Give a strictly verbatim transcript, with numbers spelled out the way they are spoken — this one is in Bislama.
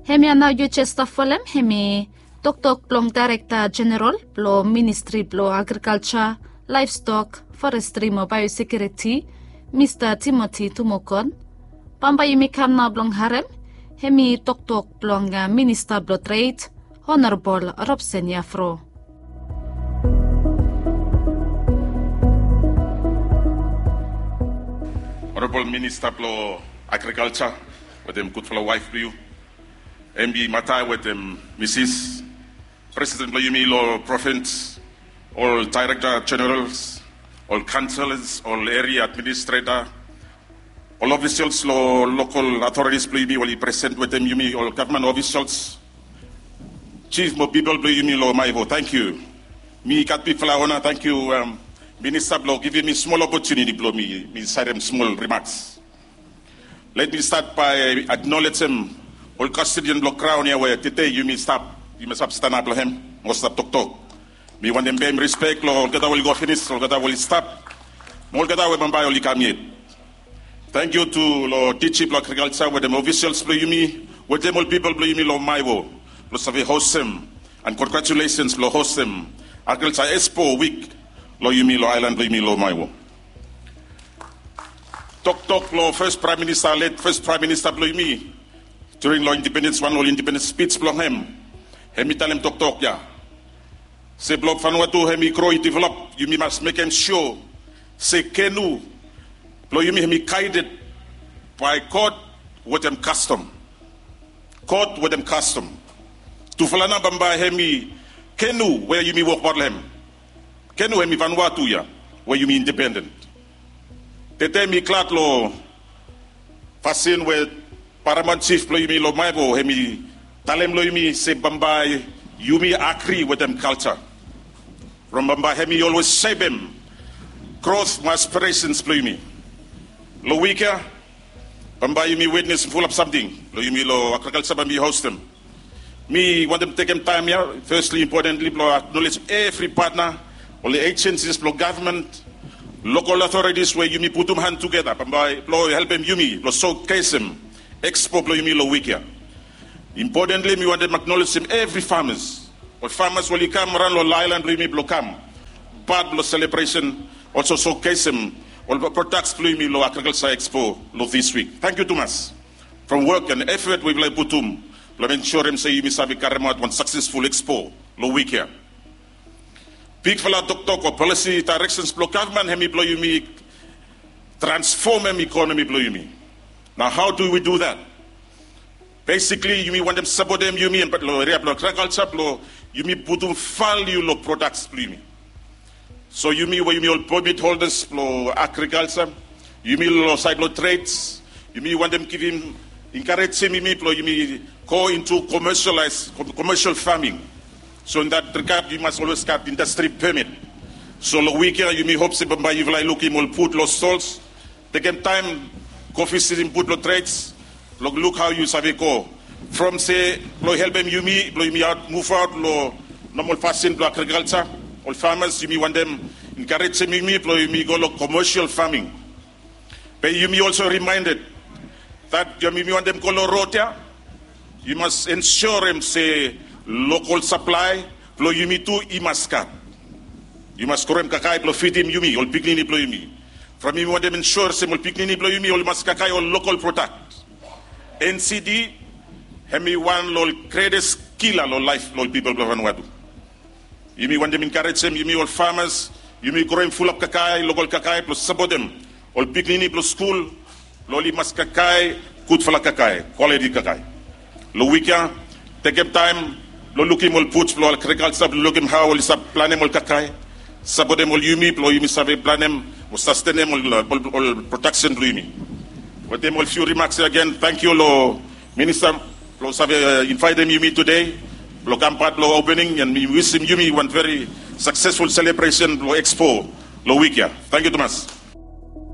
Hemia nao yu jes stap folem hemi toktok blong Daerekta Jeneral blong Ministri blong Agrikalja, Laevstok, Forestri mo Baeosekiuriti, Mista Timoti Tumokon. Bambae yumi kam nao blong harem hemi toktok blong Minista blong Tred, Honorabol Robson Yafro. Honorabol Minista blong Agrikalja wetem gudfala waef blong yu, Embi Matae wetem Misis, Presiden blong yumi long provins, ol Daerekta Jenerals, ol kaonselas, ol eria administreta, ol ofisals long lokal authorities blong yumi we oli present wetem yumi, ol gavman ofisals, jif mo pipol blong yumi long Maewo, tangkiu. Mi gat bigfala ona, tangkiu Minista blong givim mi smol opotuniti blong mi mi saedem smol rimaks. Let mi stat bae aknolejem ol kastodian blong graon ya we tede yumi stap, yumi stap stanap long hem mo stap toktok. Mi wantem peim rispek long olgeta we oli go finis, olgeta we oli stap, mo olgeta we bambae oli kam yet. Tangkiu tu long Diji blong Agrikalja wetem ofisals blong yumi wetem ol pipol blong yumi long Maewo blong save hostem, and congratulations blong hostem Agrikalja Expo Wik long yumi long aelan blong yumi long Maewo. Toktok blong fes Praem Minista, let fes Praem Minista blong yumi, during long independens, wan ol independens spij blong hem, hemi talem toktok ya se blong Vanuatu hemi gro i develop, yumi mas mekem sua se kenu blong yumi hemi gaeded bae God wetem kastom. God wetem kastom. Tufala nao bambae hemi kenu we yumi wokbaot long hem. Kenu hemi Vanuatu ya we yumi independen. Tede mi glad long fasin we Paramaon Jif blong yumi long Maewo hemi talem long yumi se bambae yumi agri wetem kalja. From bambae hemi olwes sepem grot mo aspiresens blong yumi. Long wik ya bambae yumi witnes fulap samting long yumi long agrikalja bae mi hostem. Mi wantem tekem taem ya, fesli, impotenli, blong aknolejem evri patna, ol ejensis blong gavman, lokal authorities we yumi putum han tugeta bambae blong helpem yumi blong sokesem ekspo blong yumi long wik ya. Impotenli mi wantem aknolejem evri famas, ol famas we oli kam raon long aelan blong yumi blong kam pat blong selebresen, olso sokesem ol prodaks blong yumi long agrikalja ekspo long dis wik. Tangkiu tumas from wok and efot we yufala i putum blong ensurem se yumi save karemaot wan saksesful ekspo long wik ya. Bigfala toktok o polisi daereksens blong gavman hemi blong yumi transfomem ikonomi blong yumi. Nao hao du wi du dat? Besikli yumi wantem sapotem yumi long eria blong agrikalja blong yumi putum valiu long prodaks blong yumi. So yumi we yumi ol pemit holdas blong agrikalja, yumi long saed blong treds, yumi wantem givim, enkarejem yumi blong yumi go into commercialize, commercial farming. So in that regard yumi mas olwes gat indastri pemit. So long wik ya yumi hop se bambae yufala i lukim ol fud long stols, tekem taem go visitim fud long treds blong luk hao yu save go from se blong helpem yumi blong yumi aot muvaot long nomol fasin blong agrikalja. Ol famas, yumi wantem enkarejem yumi blong yumi go long commercial farming. Be yumi olso rimaended that yumi wantem go long rod ya, yu mas ensurem se lokal saplae blong yumi tu i mas gat. Yu mas groem kakae blong fidim yumi ol pikinini blong yumi. From yumi wantem ensure se ol pikinini blong yumi oli mas kakae ol lokal prodak. N C D hemi wan long ol gretes kila long laef blong ol pipol blong Vanuatu. Yumi wantem enkarejem yumi ol famas, yumi groem fulap kakae, lokal kakae blong sapotem ol pikinini blong skul blong oli mas kakae gudfala kakae, kwaliti kakae. Long wik ya tekem taem blong lukim ol buts blong agrikalja blong lukim hao oli save planem ol kakae, sapotem ol yumi blong yumi save planem o sastenem ol prodaksen blong yumi. Wetem ol fiu rimaks ya agen, tangkiu long minista blong save invaetem yumi tede blong kam pat blong opening, and mi wisim yumi wan veri saksesful selebresen blong ekspo long wik ya. Tangkiu tumas.